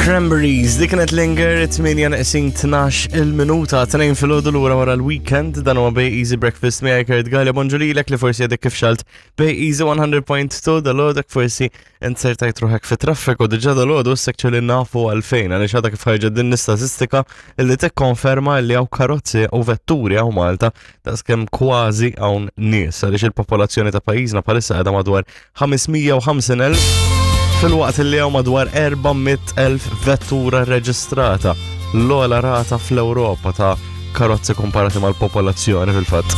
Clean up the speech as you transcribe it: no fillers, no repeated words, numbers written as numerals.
Cranberries, dik kienet Linger, 8 neqsin 12 il-minuta, 2 filgħodu lura wara l-weekend, dan huwa Bay Easy Breakfast miegħi Kurt Gallia, bonġu lilek li forsi għadek kif xalt Bay Easy 100.2 dal-għodek forsi insertajt ruħek fi traffiku diġà dal-għodu issek li nafu għalfejn għaliex għadha kif ħarġet din l-istatistika li tikkonferma li hawn karozzi u vetturi hawn Malta daqskemm kważi hawn nies għaliex il-popolazzjoni ta' pajjiżna bħalissa qiegħda madwar 550,000 filwaqt li hawn madwar 400,000 vettura reġistrata l-ogħla rata fl-Ewropa ta' karozzi komparati mal-popolazzjoni fil-fatt.